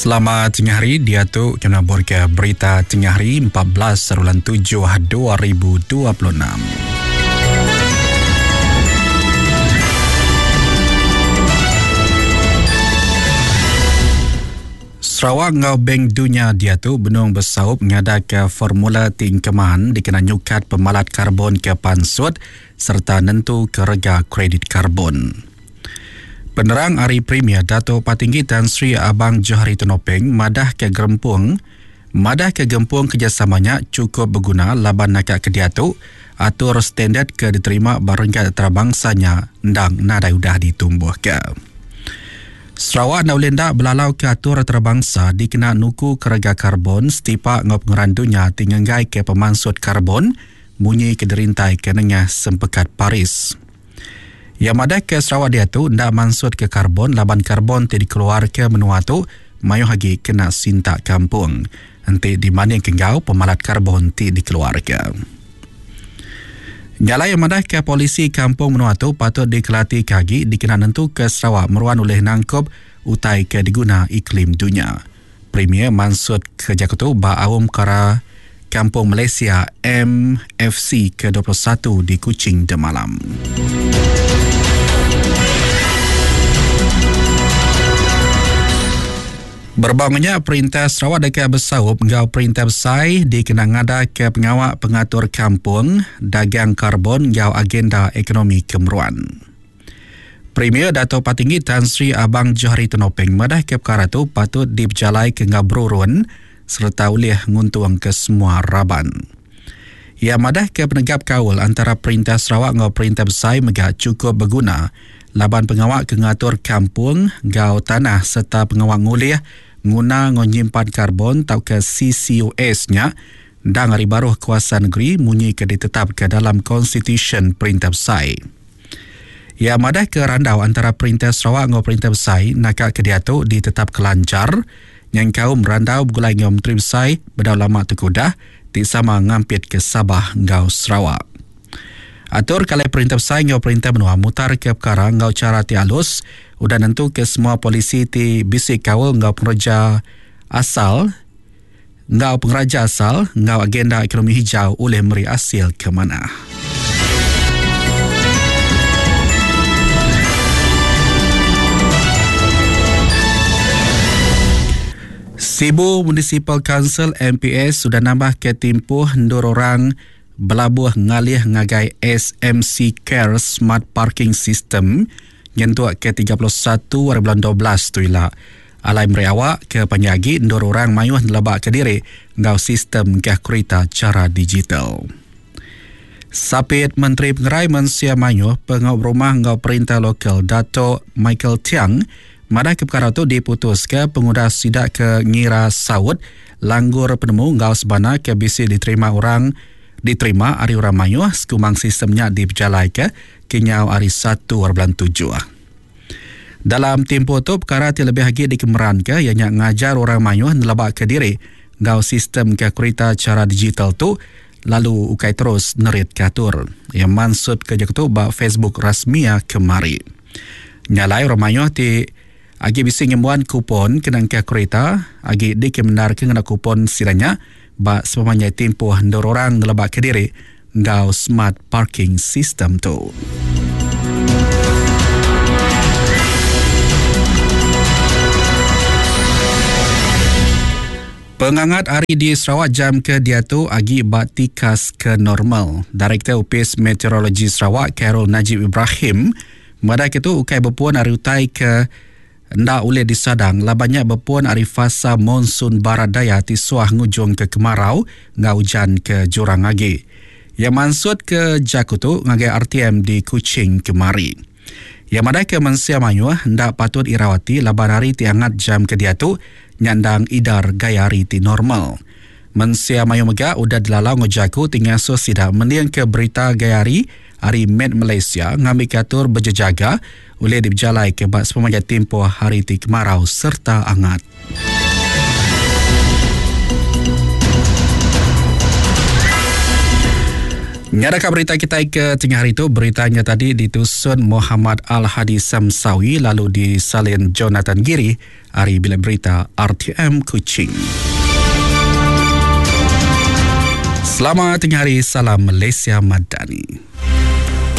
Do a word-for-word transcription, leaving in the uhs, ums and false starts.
Selamat tengah hari, dia tu kena ke berita tengah hari empat belas bulan tujuh dua ribu dua puluh enam. Sarawak ngau Bank Dunia dia tu benung besaup ngada ke formula tingkeman dikena nyukat pemalat karbon ke pansut serta nentu kerega kredit karbon. Penerang Hari Premier Dato' Patinggi Tan Sri Abang Johari Tun Openg madah ke gerempung madah ke gempung kerjasamanya cukup berguna laban nakak ke diatu atur standard ke diterima barengkat antarabangsa-nya ndang nadai udah ditumbuh ke. Sarawak nak boleh ndak belalau ke atur antarabangsa dikena nuku kerega karbon setipak ngau pengeran dunia tingenggai ke pemansut karbon munyi ke derintai ke nengah sempekat Paris. Yang madah ke Sarawak dia tu ndak mansut ke karbon laban karbon ti dikeluar ke menua tu mayuh lagi kena sintak kampung. Enti di mana kenggau pemalat karbon ti dikeluar ke. Nyalai yang madah ke polisi kampung menua tu patut dikelati kagi dikena nentu ke Sarawak meruan oleh nangkup utai ke diguna iklim dunia. Premier mansut kerja ketu ba awam kara Kampung Malaysia M F C ke dua puluh satu di Kuching demalam. Berbangunnya Perintah Sarawak dekat Besaup ngau Perintah Besai dikena ngada ke pengawak pengatur kampung, dagang karbon ngau agenda ekonomi kemeruan. Premier Dato' Patinggi Tan Sri Abang Johari Tun Openg madah ke perkara tu patut diberjalai ke ngau berurun serta ulih nguntung ke semua raban. Ia madah ke penegap kaul antara Perintah Sarawak ngau Perintah Besai mega cukup berguna laban pengawak ke ngatur kampung ngau tanah serta pengawak ngulih nguna ngonyimpan karbon tau ke C C U S-nya dang hari baruh kuasa negeri munyi ke ditetap ke dalam Constitution Perintah Besai. Ia madah ke randau antara Perintah Sarawak ngau Perintah Besai nakak ke diatu ditetap kelancar yang kaum randau bergulai ngau Menteri Besai bedau lama tekudah ti sama ngampit ke Sabah ngau Sarawak. Atur kalai Perintah Besai ngau Perintah Menua mutar ke perkara ngau cara ti alus udah nentu ke semua polisi ti bisi kaul ngau pengerja asal ngau pengeraja asal ngau agenda ekonomi hijau oleh meri hasil ke mana. Sibu Municipal Council M P S sudah nambah ke timpuh ndur orang belabuh ngalih ngagai S M C Care Smart Parking System nyentuk ke tiga puluh satu hari bulan dua belas tu ila. Alai meri awak ke penyagi ndur orang mayuh nelebak ke diri ngau sistem gah kereta cara digital. Sapit Menteri Pengerai Mensia Mayuh Pengau Rumah ngau Perintah Lokal Dato' Michael Tiang madah ke perkara tu diputus ke pengudah sidak ke ngira saut langgur penemu ngau sebana ke bisi diterima orang diterima hari orang mayuh sekumang sistemnya diberjalai ke kenyau hari satu bulan tujuh. Dalam tempoh tu perkara ti lebih lagi dikemeran ke ianya ngajar orang mayuh nelebak ke diri ngau sistem ke kereta cara digital tu lalu ukai terus nerit katur. Yang maksud kerja tu ba Facebook rasmia kemari. Nyalai orang mayuh ti agi bisi ngembuan kupon kenang ke kereta agi dikemenar ke ngena kupon siranya ba sepemanjai tempoh ndur orang nelebak ke diri ngau smart parking system tu. Pengangat hari di Sarawak jam ke diatu agi ba tikas ke normal. Direktur Upis Meteorologi Sarawak Carol Najib Ibrahim madah ke tu ukai berpuan hari utai ke ndak boleh disadang labannya berpuan hari fasa monsun barat daya ti suah ngujung ke kemarau ngau hujan ke jurang agi. Yang mansut ke Jakutu ngagai R T M di Kuching kemari. Yang madai ke mensia mayuh ndak patut irawati laban hari ti angat jam ke diatu nyandang idar gaya hari ti normal. Mensia mayuh mega udah delalau ngejaku ti ngasuh sidak mending ke berita gaya hari hari Med Malaysia ngambil katur berjejaga oleh diberjalai ke bak sepemanjai tempoh hari ti kemarau serta angat. Nyadaka berita kita ke tengah hari itu, beritanya tadi ditusun Muhammad Al-Hadi Samsawi lalu disalin Jonathan Giri ari Bilik Berita R T M Kuching. Selamat tengah hari, salam Malaysia Madani.